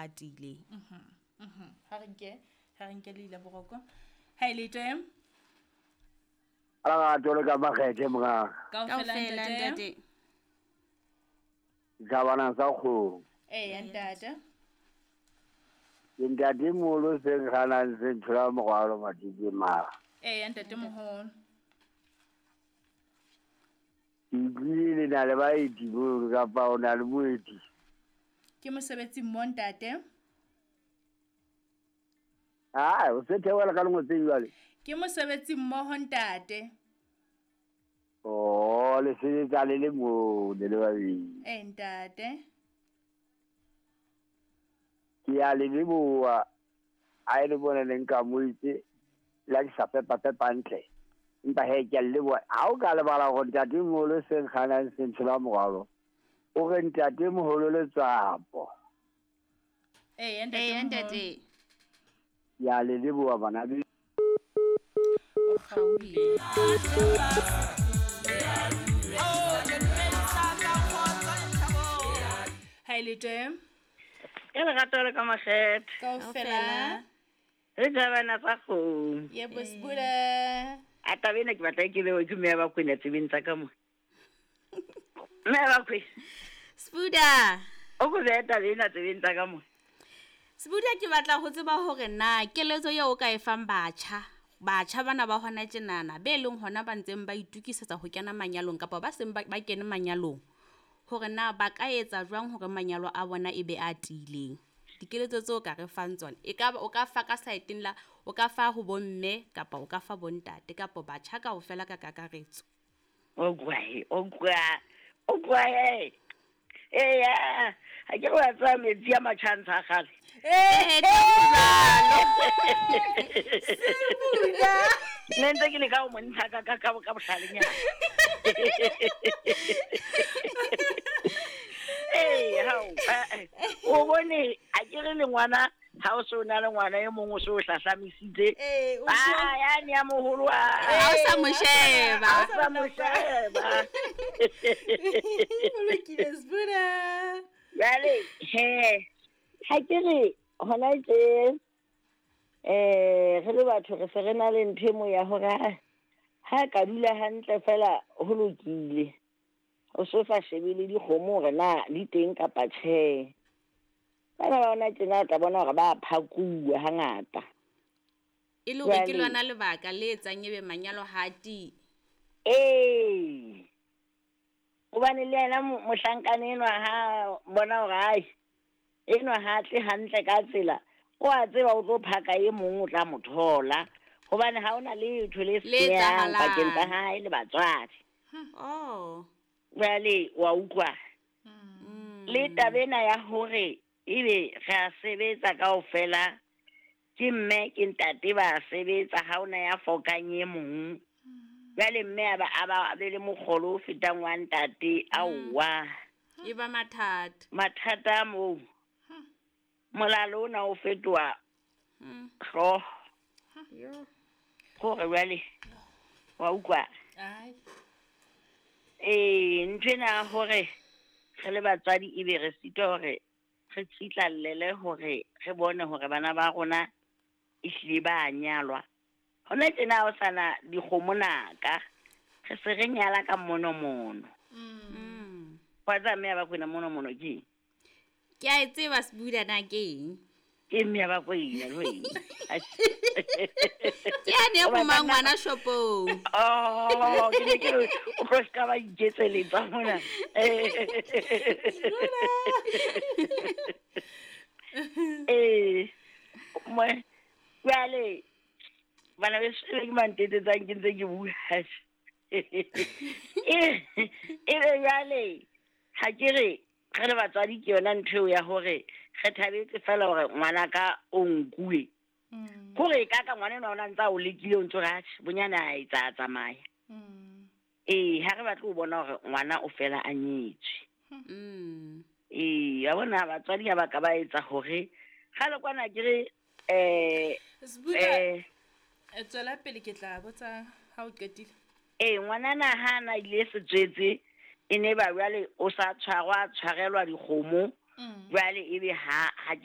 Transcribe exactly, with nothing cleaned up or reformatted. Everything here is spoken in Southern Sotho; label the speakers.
Speaker 1: a tiileng.
Speaker 2: Ha re nke ha re nke le ile boroko. Ha ile teng.
Speaker 3: Ala tole ka makgethe mora.
Speaker 2: Kaofela ntate.
Speaker 3: Ka bana sa kgo.
Speaker 2: Eh ntate.
Speaker 3: Ke ntate moholo se kganang se nthola morwalo matike mara.
Speaker 2: Eh ntate moholo.
Speaker 3: Ke utlwile le na le baeti mo kapa o na le moeti.
Speaker 2: Ke mosebetsi mo ntate.
Speaker 3: Ah, o se theohela ka lengwe jwale.
Speaker 2: Ke mosebetsi mmoho ntate.
Speaker 3: Oh, le sebetsa le le mo le le babedi.
Speaker 2: Eh ntate.
Speaker 3: Ke a le leboha a e le bone le nka moitse la ke sa pepa pepa ntle. Empa he ke a le leboha. Ha o ka lebala hore ntate moholo se nkganang se ntshola morwalo. O re ntate moholo Letsapo.
Speaker 2: Eh ntate.
Speaker 1: Eh ntate.
Speaker 3: Ya le leboha bana.
Speaker 2: O kgaohile. Ha ile teng.
Speaker 4: Ke lerato le ka makgethe.
Speaker 2: Kaofela.
Speaker 4: Re jabana tsa kgomo.
Speaker 2: Yebo Sbuda.
Speaker 4: A taba ena ke batla ke bewe ke mme ya Bakwena tsebeng tsa ka mo. Mme ya Bakwena.
Speaker 1: Sbuda.
Speaker 4: O ko behe taba ena tsebeng tsa ka mo.
Speaker 1: Sbuda ke batla ho tseba hore na keletso eo o ka e fang batjha. Batjha bana ba hona tjenana be leng hona ba ntseng ba itukisetsa ho kena manyalong kapa ba seng ba kene manyalong. Hore na ba ka etsa jwang hore manyalo a bona e be a tiileng. Dikeletso tseo ka re fang tsona e ka o ka fa ka saeteng la o ka fa ho bomme kapa o ka fa bontate kapa batjha kaofela ka kakaretso.
Speaker 4: O kwae, o kwa, o kwae. Eh ya, ha ke re wa tsaya metsi a matjhantsha a kgale.
Speaker 1: Eh jwalo.
Speaker 2: Sbuda.
Speaker 4: Nne ntse ke leka ho mo ntsha ka ka ka bohlalenyana. Eh hao, o bone a ke re le ngwana ha o so na le ngwana e mong o so hlahlamisitse.
Speaker 2: Eh o
Speaker 4: ah ya ne ya moholo a
Speaker 1: ha o sa mo sheba.
Speaker 4: Ha o sa mo sheba.
Speaker 2: O lokile Sbuda.
Speaker 4: Jwale he ha ke re hona tje eh re le batho re se re na le ntho e mo ya hore ha ka dula hantle fela ho lokile. O so sa shebe le dikgomo hore na di teng kapa tjhe. Bana ba ona tjena o tla bona hore ba phakuwa hangata.
Speaker 1: E le hore ke lona lebaka le etsang ebe manyalo ha a tiye.
Speaker 4: Eh. Hobane le yena mohlankane enwa ha bona hore ai enwa ha tle hantle ka tsela, o a tseba o tlo phaka e mong o tla mo thola. Hobane ha ona letho le seyang pakeng tsa hae le batswadi.
Speaker 1: Oh.
Speaker 4: Jwale wa utlwa. Le taba ena ya hore ebe re a sebetsa kaofela ke mme ke ntate ba sebetsa ha ona ya fokang e mong. Jwale mme a ba a ba be le mokgolo o fetang wa ntate aowa.
Speaker 1: E ba mathata.
Speaker 4: Mathata moo. Molalo ona o fetoha hlooho. Hore jwale wa utlwa.
Speaker 2: Ai.
Speaker 4: Eh ntho ena hore re le batswadi ebe re sitwa hore re tsitlallele hore re bone hore bana ba rona ehlile ba nyalwa. Hona tjena o sana dikgomo naka re se re nyala ka monomono.
Speaker 1: Mm.
Speaker 4: Wa tsa mme ya Bakwena monomono ke?
Speaker 1: Ke a e tseba Sbuda na ke eng?
Speaker 4: Ke mme ya Bakwena le wena.
Speaker 1: Ke a ne go mangwana shopong.
Speaker 4: Oh, ke ne ke re o tlo ska ba iketseletsa mona. Eh, mo jwale bana be se ke mantetetsang ke ntse ke bua. Eh, e be jwale ha ke re re le batswadi ke yona ntho eo ya hore re thabetse fela hore ngwana ka o nkuwe. Hore ka ka ngwana enwa o na ntsa o lekile o ntso re atjhe bonyane a etsa a tsamaya. Eh ha re batle ho bona hore ngwana o fela a nyetswe.
Speaker 1: Mm.
Speaker 4: Eh ya bona batswadi ha ba ka ba etsa hore kgale kwana ke re eh
Speaker 2: Sbuda
Speaker 4: eh
Speaker 2: tswela pele ke tla botsa ha o qetile.
Speaker 4: Eh ngwanana ha na ile setswetse e ne ba jwale o sa tshwarwa tshwarelwa dikgomo jwale ebe ha ha ke